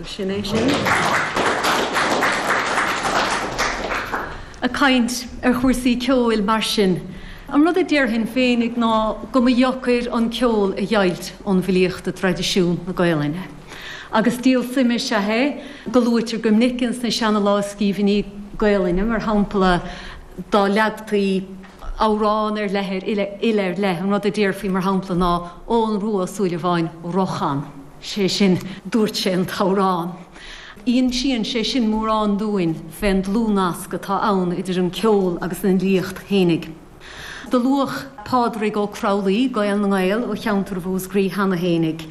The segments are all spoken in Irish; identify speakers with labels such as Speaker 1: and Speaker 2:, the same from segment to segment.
Speaker 1: So sin é sin. Ag caint ar chúrsaí ceoil mar sin, an rud a déarfainn féinig ná go mba dheocair an ceol a dheighilt ón bhfilíocht i dtraidisiún na Gaelainne. Agus díol suime is ea é go luaitear go minic ins na seana-lámhscríbhinní Gaelainne, mar shampla, dá leagtaí amhrán ar leith ar fhile ar leith, an rud a déarfaí, mar shampla, ná Eoghan Rua Ó Súilleabháin Rochan. Sé sin, dúirt sé an t-amhrán. Insíonn sé sin mórán dúinn fén dlúthnasc atá ann idir an ceol agus an fhilíocht fhéinig. Do luadh Pádraig Ó Cromghlí, Gael na nGael ó cheantar Mhúscraí cheana fhéinig.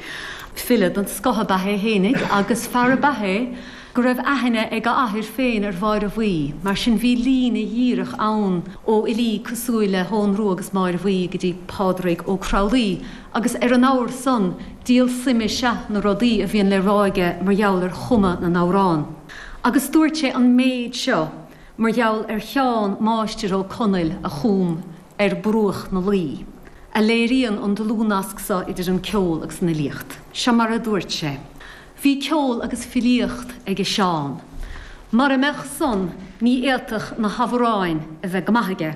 Speaker 1: File den scoth ab ea é fhéinig agus fear ab ea é go raibh aithne ag a athair féin ar Mháire Bhuí, mar sin bhí líne dhíreach ann ó fhilí cosúil le hEoghan Rua agus Máire Bhuí go dtí Pádraig Ó Cromghlí agus ar an abhar san, díol suime is ea na rudaí a bhíonn le rá aige mar gheall ar chumadh na n-amhrán. Agus dúirt sé an méid seo mar gheall ar Sheán Máistir Ó Conaill a chum Ar Bruach na Laoi, a léiríonn an dlúthnasc so idir an ceol agus an fhilíocht. Seo mar a dúirt sé. Bhí ceol agus filíocht aige Seán. Mara mbeadh san ní fhéadfadh na hamhráin a bheith go maith aige.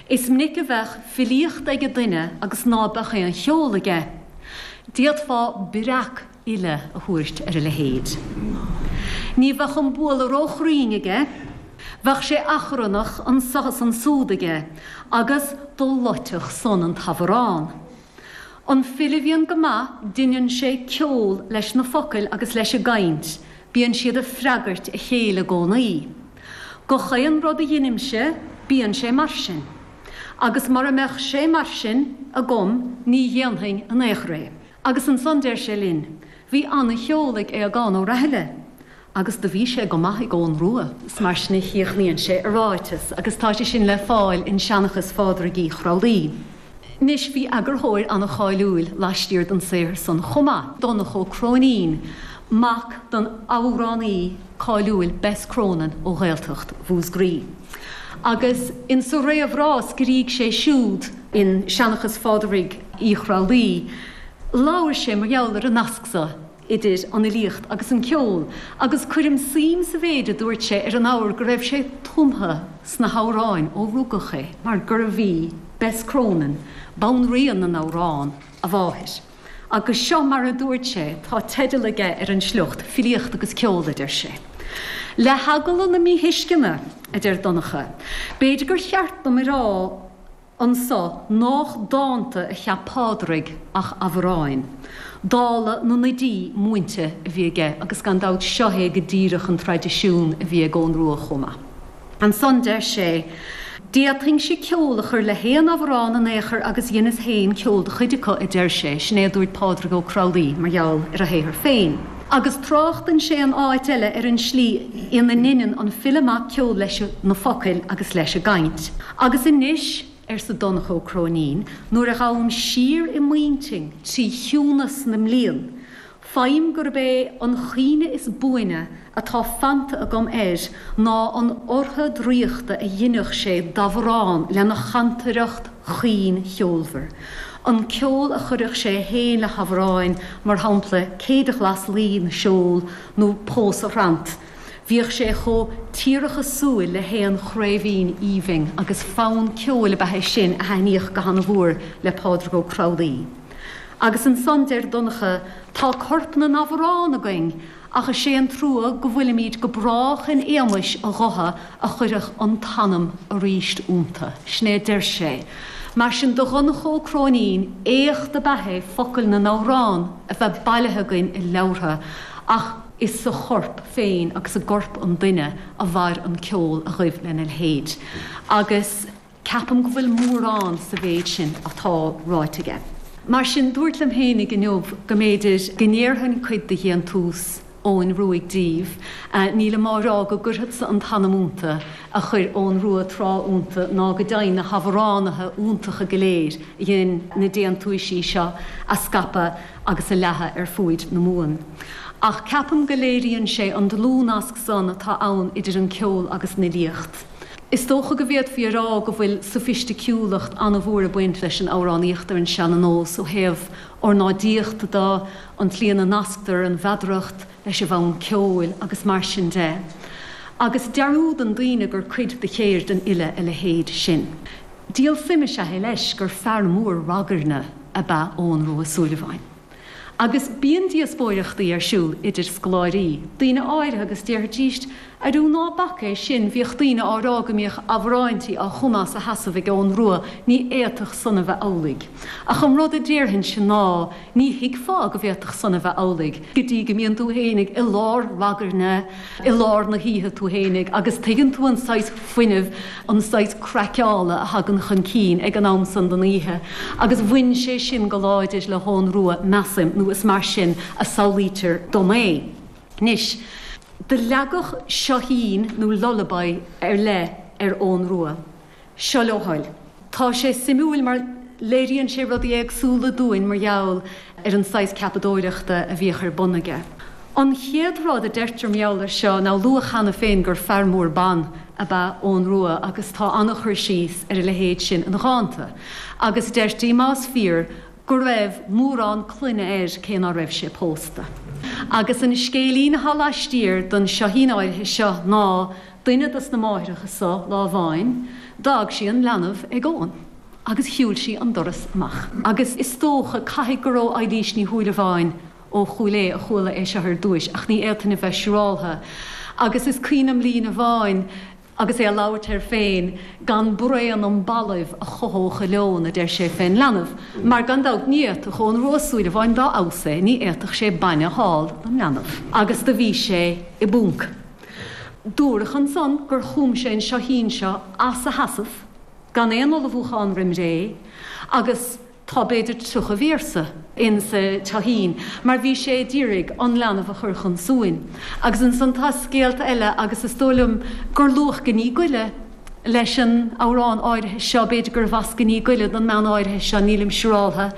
Speaker 1: Is minic a bheadh filíocht aige duine agus ná beadh aon cheol aige. D'fhéadfá breac-fhile a thabhairt ar a leithéid. Ní bheadh an bualadh ró-chruinn aige, bheadh sé achrannach anso is ansúd aige agus do loitfeadh san an t-amhrán. An file a bhíonn go maith, deineann sé ceol leis na focail agus leis an gcaint, bíonn siad ag freagairt a chéile i gcónaí. Gach aon rud a dheinimse, bíonn sé mar sin. Agus mara mbeadh sé mar sin agam ní dhéanfainn in aon chor é. Agus ansan deir sé linn, bhí ana-cheol ag Aogán Ó Raithile. Agus do bhí sé go maith ag Eoghan Rua. Is mar sin a chríochnaíonn sé a ráiteas, agus tá sé sin le fáil in Seanchas Phádraig Uí Chromghlí. Anois, bhí eagarthóir an-cháiliúil laistiar den saothar san chomh maith, Donncha Ó Cróinín, mac don amhránaí cáiliúil Bess Cronin ó Ghaeltacht Mhúscraí. Agus insa réamhrá a scrígh sé siúd in Seanchas Phádraig Uí Chromghlí, labhair sé mar gheall ar an nasc so idir an fhilíocht agus an ceol, agus cuirim suim sa mhéid a dúirt sé ar an abhar go raibh sé tumtha sna hamhráin ó rugadh é, mar gurbh í Bess Cronin, banríon na n-amhrán, a mháthair. Agus seo mar a dúirt sé, tá teideal aige ar an sliocht, Filíocht agus Ceol, a deir sé. Le heagla na míthuisceana, a deir Donncha, b'fhéidir gur cheart dom a rá, anso nách dánta a cheap Pádraig ach amhráin. Dála na n-oidí múinte a bhí aige agus gan dabht seo é go díreach an traidisiún a bhí ag Eoghan Rua chomh maith. Ansan deir sé, D'fhéadfainnse ceol a chur le haon amhrán in aon chor agus dheineas féin ceol do chuid acu, a deir sé, sin é a dúirt Pádraig Ó Cromghlí mar gheall ar a shaothar féin. Agus tráchtann sé in áit eile ar an slí ina ndeineann an file maith ceol leis na focail agus leis an gcaint. Agus anois, arsa Donncha Ó Cróinín, nuair a ghabhaim siar i m'intinn trí chiúnas na mblian, faighim gurb é an chuimhne is buaine atá fanta agam air ná an ortha draíochta a dheineadh sé d'amhrán lena chantaireacht chaoin cheolmhar, an ceol a chuireadh sé fhéin le hamhráin, mar shampla Céide Ghlas Laoi na Seol nó Pósadh Thrant. Bhíodh sé chomh tíreachasúil le haon chraoibhín aoibhinn agus fonn ceoil ab ea é sin a thaitníodh go hana-mhór le Pádraig Ó Cromghlí. Agus ansan deir Donncha, Tá corp na n-amhrán againn ach is é an trua go bhfuilimíd go brách in éamais a ghutha a chuirfeadh an t-anam aríst iontu. Sin é a deir sé. Mar sin do Dhonncha Ó Cróinín, éacht ab ea é focail na n-amhrán a bheith bailithe againn i leabhartha ach, Is sa chorp féin agus i gcorp an duine a mhair an ceol a ghaibh lena leithéid. Agus ceapaim go bhfuil mórán sa mhéid sin atá ráite aige. Mar sin, dúrt liom fhéinig inniu go mb'fhéidir go ndéarfainn cuid de dhéantús Eoghain Ruaidh díbh. Nílim á rá go gcuirfeadsa an t-anam iontu a chuir Eoghan Rua tráth iontu ná go deimhin na hamhránaithe iontacha go léir a dhein na déantúisí seo a scaipeadh agus a leathadh ar fuaid na Mumhan. Ach ceapaim go léiríonn sé an dlúthnasc san atá ann idir an ceol agus an fhilíocht. Is dócha go bhféadfaí a rá go bhfuil sofaisticiúlacht an-mhór ag baint leis an amhránaíocht ar an seana-nós ó thaobh ornáidíochta de, an tslí ina nasctar an mheadaracht leis an bhfonn ceoil agus mar sin de. Agus dearúdann daoine gur cuid de cheird an fhile a leithéid sin. Díol suime is ea é leis gur fear mór ragairne ab ea Eoghan Rua Ó Súilleabháin. Agus bíonn díospóireachtaí ar siúl idir scoláirí, daoine áirithe agus déarfaidís, Airiú ná bac é sin, bhíodh daoine á rá go mbíodh amhráintí á chumadh as a sheasamh ag Eoghan Rua, ní fhéadfadh san a bheith amhlaidh. Ach an rud a déarfainnse ná, ní thuigfeá go bhféadfadh san a bheith amhlaidh, go dtí go mbíonn tú fhéinig i lár ragairne, i lár na hoíche tú fhéinig agus tuigeann tú an saghas fuinnimh, an saghas craiceála a thagann chun cinn ag an am san den oíche agus bhain sé sin go láidir le hEoghan Rua, measaim, nó is mar sin a samhlaítear dom é. Anois, do leagadh seoithín nó lullaby ar leith ar Eoghan Rua. Seo le do thoil. Tá sé suimiúil mar léiríonn sé rudaí éagsúla dúinn mar gheall ar an saghas ceapadóireachta a bhíodh ar bun aige. An chéad rud a deirtear mar gheall air seo ná luadh cheana féin gur fear mór ban ab ea Eoghan Rua agus tá an-chur síos ar a leithéid sin ina dhánta. Agus deirtí, más fíor, go raibh mórán clainne air cé ná raibh sé pósta. Agus an scéilín atá laistiar don seoithín áirithe seo ná duine dos na máithreacha so lá amháin, d'fhág sí an leanbh ag Eoghan agus shiúil sí an doras amach. Agus is dócha, caithfidh gur ó Eilís Ní Shúilleabháin ó Chúil Aodha a chuala é seo ar dtúis ach ní fhéadfainn a bheith siúráltha. Agus is cuimhin liom líne amháin, Agus é ag labhairt air féin, gan braon an balaibh a chothódh a leon, a deir sé fén leanbh, mar gan dabht ní fhéadfadh Eoghan Rua Ó Súilleabháin dá fheabhas é, ní fhéadfadh sé bainne a fháil don leanbh. Agus do bhí sé i bponc. Dúradh ansan gur chum sé an seoithín seo as a sheasamh, gan aon ullmhúchán roim ré, agus. Tá b'fhéidir 30 véarsa in sa tseoithín mar bhí sé a d'iarraidh an leanbh a chur chun suain. Agus ansan tá scéalta eile agus is dóigh liom gur luadh Ní Goille leis an amhrán áirithe seo, b'fhéidir gurbh as Ní Goille don mbean áirithe seo, nílim siúráltha.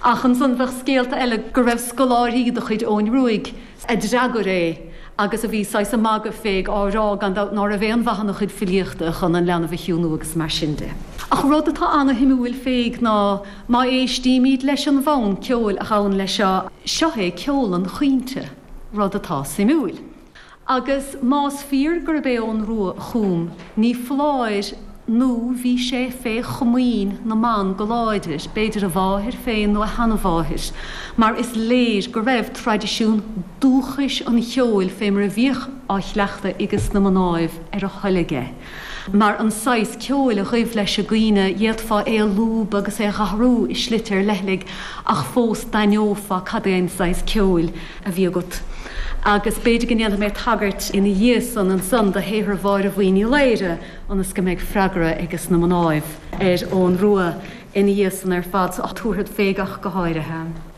Speaker 1: Ach ansan bheadh scéalta eile go raibh scoláirí de chuid Eoghain Ruaidh a d'fhreagair é agus a bhí saghas ag magadh fé á rá gan dabht ná raibh aon mhaith ina chuid filíochta chun an leanbh a chiúnú agus mar sin de. Ach rud atá ana-shuimiúil féig ná má éistímíd leis an bhfonn ceoil a ghabhann leis seo, seo é ceol an chaointe, rud atá suimiúil. Agus más fíor gurb é Eoghan Rua a chum, ní foláir nó bhí sé fé chomaoin na mban go láidir, b'fhéidir a mháthair féin nó a sheanmháthair, mar is léir go raibh traidisiún dúchais an cheoil fé mar a bhíodh á chleachtadh aiges na mnáibh ar a thoil aige. Mar an saghas ceoil a ghaibh leis an gcaoineadh, d'fhéadfá é a lúbadh agus é a dh'athrú i slite ar leithligh ach fós d'aithneofá cad é an saghas ceoil a bhí agat. Agus b'fhéidir go ndéanfaidh mé tagairt ina dhiaidh san ansan do shaothar Mháire Bhuí Ní Laoire ionas go mbeidh freagra aiges na mnáibh ar Eoghan Rua ina dhiaidh san ar fad, so tabharfad féig ach go háirithe.